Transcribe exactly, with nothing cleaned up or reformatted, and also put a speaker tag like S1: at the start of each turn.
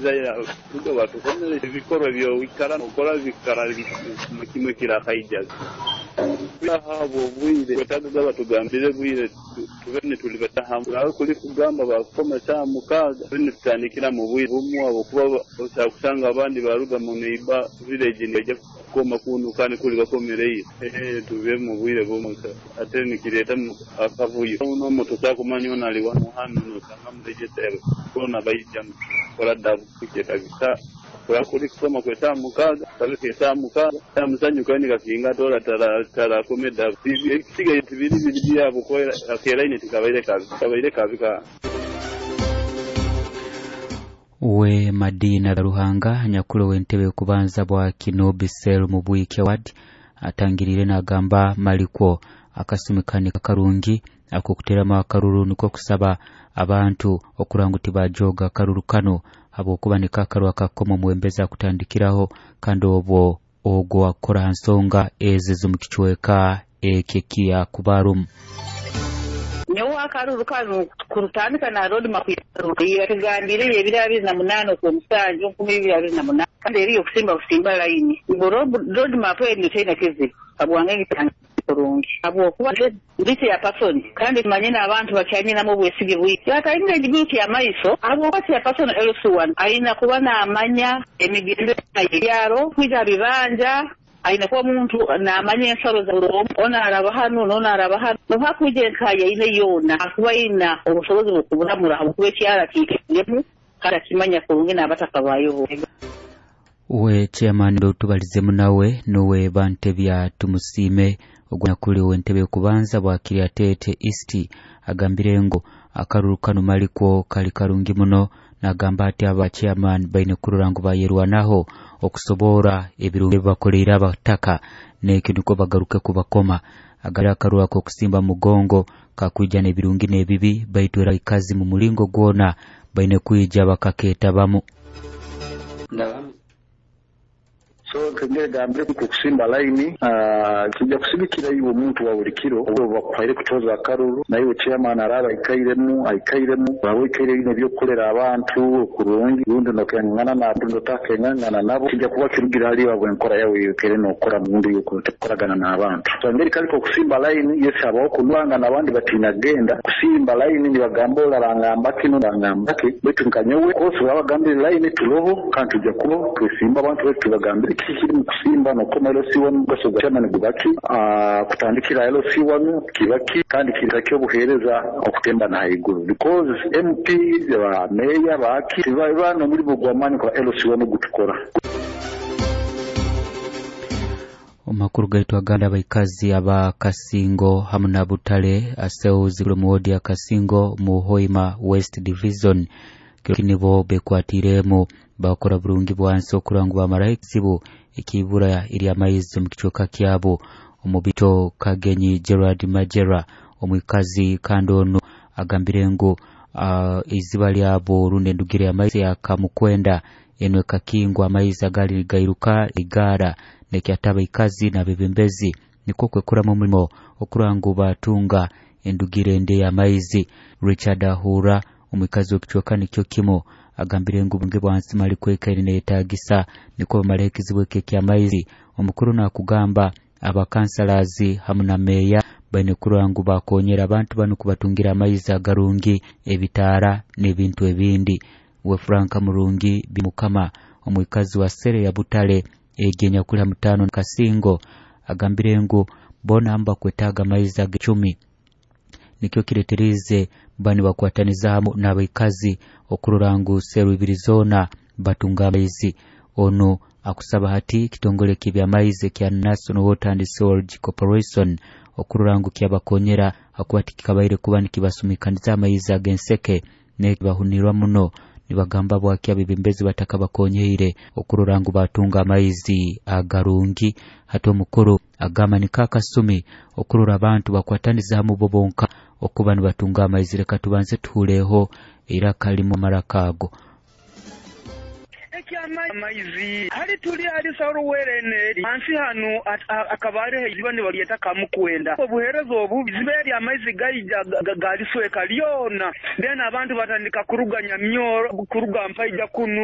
S1: Isaiah batukomere ebikorwa byoikara okora bikara kimwe kirakaija abo obwire wetagaga batugambire bwire tube nitulibata hamwe aho kuli kugamba bakukoma saa mukaaga tube nitutandikira mu bwire bumwe abo kuba osakusanga abandi baruga mu neiba village nibaija kukoma kunu kandi kuli bakomereire eh tube mu bwire bumwe ate nikireeta akavuyo n'omuntu otakumanya ono ali wano hano nosanga murejesere kona baija kora dabu kukyetagisa kuri kusoma kwe saa mukaaga kabika esaa mukaaga amusanyu kandi kakinga tora tara tara komeda ekisigaye tibiri biri byabo kwera akeraine tikabaire kabi kabaire kabi ka
S2: we Madina Ruhanga nyakulu w'entebe kubanza bwa Kinobi Cell mu Bwike Ward atangirire n'agamba malikwo akasumikani karungi akokuterama akaruru niko kusaba abantu okurangu tibajoga akaruru kano habwokuba nikakaru akakoma muwembeza kutandikiraho kandi obwo ogwo akora nsonga eze z'omukichweka ekekia kubarum.
S3: Nyowe akaruru kano kurutandika na road map yatugambire ebiri abiri na munaana okw'omusanju nkumi ibiri abiri na munaana kandi eriyo okusimba kusimba layini ngo road map eno terina kizibu habwange ngitandika kurungi habwokuba ndi ya person kandi manye n'abantu bakyanyinamu obwesige bwingi atalina egiguruki amaiso habwokuba ya person L C one ayina kuba n'amanya emigendo y'ebyaro kwija bibanja ayina kuba muntu n'amanya ensalo za buli omu ono araba hanu n'ono araba hanu nohakwija enkaya ine yoona akuba ayina obusobozi bw'okuburamura habwokuba ekyaro akiikiremu kandi akimanya kurungi n'abatakabayo.
S2: We chairman ndo tubalizemu nawe nuwe Bantebya Tumusime ogwanyakuli w'entebe kubanza bwa Kiryatete East agambire ngo akaruru kano malikwo kali karungi muno nagamba ati aba chairman baine kurora ngu bayerwanaho okusobora ebirungi bakoleire abataka n'ekyo niko bagaruke kubakoma agara akaruru ako kusimba mugongo kakwija n'ebirungi n'ebibi baitu era ikazi mu mulingo gwona baine kwija bakaketabamu.
S4: So kengere gambire kukusimba line kijja kusigikira iwe omuntu wa buli kiro oba bakuhaire kutoza akaruru naiwe chairman araba aikairemu aikairemu waba oikaire ine ebyokukolera abantu kurungi rundi nokengana nabo notakengana nabo kijja kuba kirugira hali wabwe enkora yawe yokaire nokora mundu yokukoragana n'abantu. So engeri kaliko kusimba line yesi abaho kunwanga n'abandi batina genda kusimba line nibagamba olarangamba kino rangamba ki baitu nkanyowe kose babagambire line tuloho kandi tujja kuba twesimba abantu betu tubagambire kikiri mu kusimba nokoma L C one mugaso gwa chairman gubaki kutandikira L C one kibaki kandi kiraki obuhereza okutemba na haiguru because M P ba meya baki bano muri bugwamani kwa L C one gutukora.
S2: Omakuru gaitu aganda abaikazi aba Kasingo hamu na Butale aseuzi mu wodi ya Kasingo mu Hoima West Division kinibo bekwatiremo bakora burungi bwansi okurangu bamara ekizibu ekibura eri amaizi mu kichweka kyabo. Omubito Kagenyi Gerard Majera omwikazi kandi ono agambire ngu uh, iziba lyabo runde ndugire amaizi akamukwenda eno ekakingwa amaizi agali gairuka igara nekyataba ikazi na bebembezi niko kwekuramu omulimo okurangu batunga endugire nde y'amaizi. Richard Ahura omwikazi w'ekichweka nikyo kimo agambire ngu bunge bwansi mali kwekaire neyetagisa niko bamara ekizibu eky'amaizi. Omukuru nakugamba abakansalazi hamu na meya baine kurora ngu bakonyera abantu bano kubatungira amaizi agarungi ebitaara n'ebintu ebindi. We Franka Murungi Bimukama omwikazi wa sere ya Butale egenya kuli mutano Kasingo agambire ngu bona amba kwetaga amaizi ag'icumi nikyo kireterize bani bakwataniza hamu n'abaikazi okurora ngu seru ibiri zona batunga amaizi. Ono akusaba hati kitongole ky'ebyamaizi kya National Water and Sewerage Corporation okurora ngu kyabakonyera akuba tikikabaire kuba nikibasumikaniza amaizi ag'enseke nekibahunirwa muno nibagamba bwaki abebembezi batakabakonyeire okurora ngu batunga amaizi agarungi. Hati omukuru agamba nikakasumi okurora abantu bakwataniza hamu bo bonka okuba nibatunga amaizi. Reka tubanze tuhuleho iraka limu marakago
S5: amaizi hali tuli hali saruwerene ansi hanu akabare ziba ni baliyeta kamukwenda obuherezo obu ziberi amaizi gaija galisweka lyona then abantu batandika kuruganya myoro kuruga mpaija kunu.